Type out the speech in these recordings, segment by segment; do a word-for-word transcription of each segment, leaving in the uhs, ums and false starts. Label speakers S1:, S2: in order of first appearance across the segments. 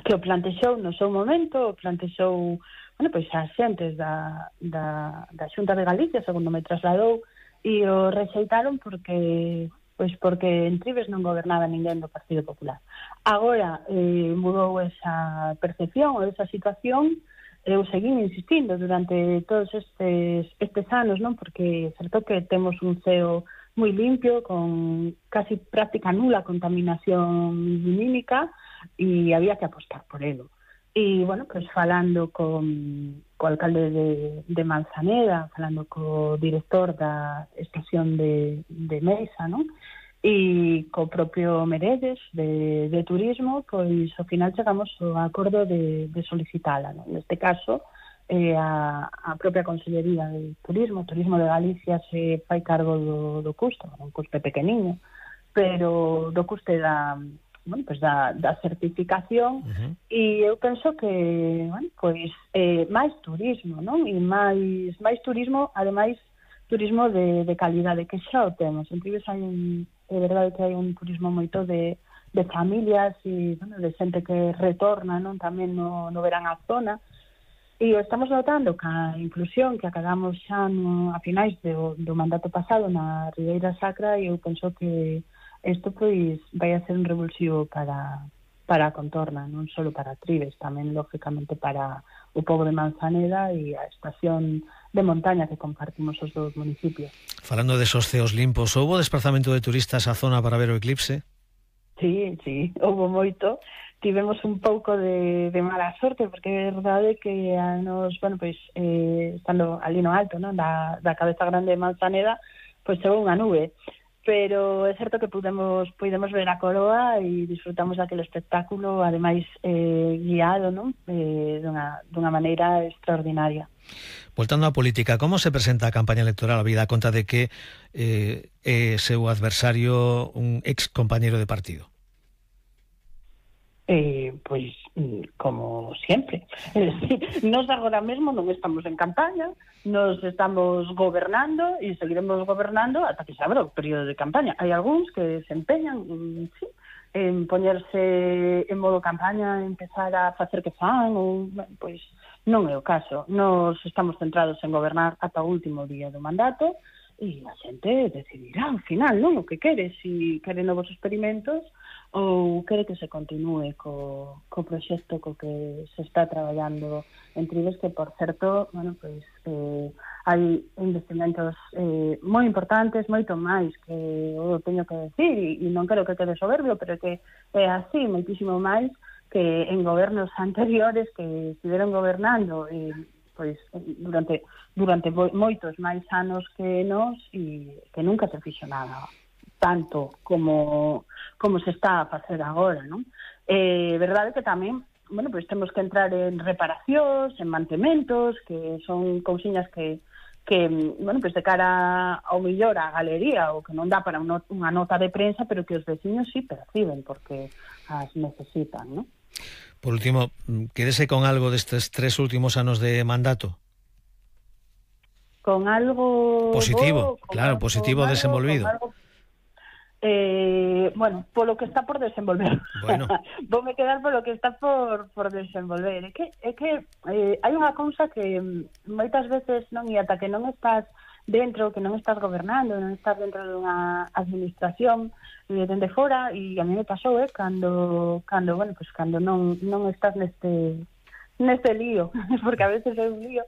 S1: que o plantexou no seu momento, o plantexou, bueno, pois as xentes da, da, da Xunta de Galicia, segundo me trasladou, e o rexeitaron porque pois porque en Trives non gobernaba ninguén do Partido Popular. Agora eh, mudou esa percepción ou esa situación. Eu seguín insistindo durante todos estes, estes anos, non? Porque é certo que temos un ceo moi limpio, con casi práctica nula contaminación lumínica, e había que apostar por ele. E, bueno, pues falando con co alcalde de, de Manzaneda, falando co director da estación de, de Mesa, non? E co propio Meredes de, de Turismo, pois ao final chegamos ao acordo de, de solicitala, non? Neste caso, eh, a, a propia Consellería de Turismo, Turismo de Galicia, se fai cargo do, do custo, un custe pequeniño, pero do custe da, bueno, pues da, da certificación, uh-huh. E eu penso que, bueno, pois eh, máis turismo, non? E máis, máis turismo, ademais, turismo de, de calidade, que xa o temos. En Trives hai un, é verdade que hai un turismo moito de, de familias e, bueno, de xente que retorna, non? Tamén no, no verán a zona, e o estamos notando que a inclusión que acabamos xa no, a finais do, do mandato pasado na Ribeira Sacra, e eu penso que isto pois vai a ser un revulsivo para, para a contorna, non só para Trives, tamén lógicamente para o pobo de Manzaneda e a estación de montaña que compartimos os dous municipios.
S2: Falando de esos ceos limpos, houbo desplazamento de turistas á zona para ver o eclipse?
S1: Sí, sí, houbo moito. Tivemos un pouco de, de mala sorte, porque é verdade que a nos, bueno, pois, eh, estando ali no alto, non, da, da cabeza grande de Manzaneda, pois chegou unha nube. Pero é certo que pudemos, pudemos ver a coroa e disfrutamos daquele espectáculo, ademais eh, guiado, non? Eh, dunha, dunha maneira extraordinaria.
S2: Voltando á política, como se presenta a campaña electoral a vida conta de que eh, é seu adversario un ex compañero de partido?
S1: Eh, pois, como sempre. Nos agora mesmo non estamos en campaña, nos estamos gobernando e seguiremos gobernando ata que se abra o período de campaña. Hai algúns que se empeñan, sí, en poñerse en modo campaña, empezar a facer que fan, ou, pois, non é o caso. Nos estamos centrados en gobernar ata o último día do mandato, e a xente decidirá ao final, non, o que quere, se quere novos experimentos ou quere que se continúe co, co proxecto co que se está traballando en Trives, que, por certo, bueno, pois, eh, hai investimentos eh, moi importantes, moito máis que eu teño que decir, e, e non quero que quede soberbio, pero que é así, moitísimo máis que en gobernos anteriores que estiveron gobernando e pois durante durante moitos máis anos que nós, e que nunca se fixo nada tanto como como se está a facer agora, non? É eh, verdade que tamén, bueno, pois temos que entrar en reparacións, en mantementos, que son cousiñas que que, bueno, pois de cara ao mellor a galería, o que non dá para unha nota de prensa, pero que os veciños sí perciben porque as necesitan, non?
S2: Por último, quédese con algo destes tres últimos anos de mandato.
S1: Con algo
S2: positivo,
S1: bo,
S2: claro,
S1: algo,
S2: positivo
S1: algo,
S2: desenvolvido.
S1: Algo, eh, bueno, polo que está por desenvolver.
S2: Bueno.
S1: Voume quedar polo que está por, por desenvolver. É que, é que eh, hai unha cousa que moitas veces non, e ata que non estás dentro, que non estás gobernando, non estás dentro dunha administración eh, dende fora, e a mí me pasou, eh, cando, cando, bueno, pues cando non, non estás neste, neste lío, porque a veces é un lío,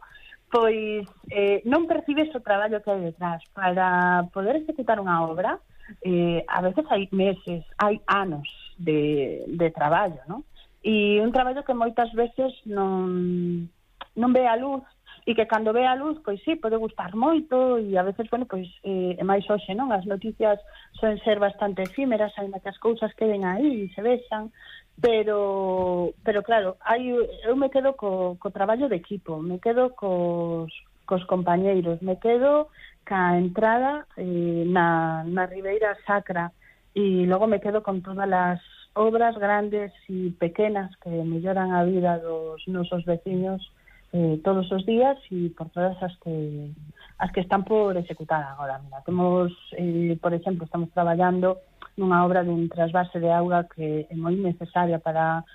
S1: pois eh, non percibes o traballo que hai detrás. Para poder executar unha obra, eh, a veces hai meses, hai anos de, de traballo, non? E un traballo que moitas veces non, non ve a luz, e que cando ve a luz, pois sí, pode gustar moito, e a veces, bueno, pois eh, é máis hoxe, non? As noticias son ser bastante efímeras, aínda que as cousas queden aí e se vexan, pero, pero claro, hai, eu me quedo co, co traballo de equipo, me quedo cos, cos compañeiros, me quedo ca entrada eh, na, na Ribeira Sacra, e logo me quedo con todas as obras grandes e pequenas que melloran a vida dos nosos veciños eh, todos os días, e por todas as que as que están por executar agora. Mira, temos, eh, por exemplo, estamos traballando nunha obra dun trasvase de auga que é moi necesaria para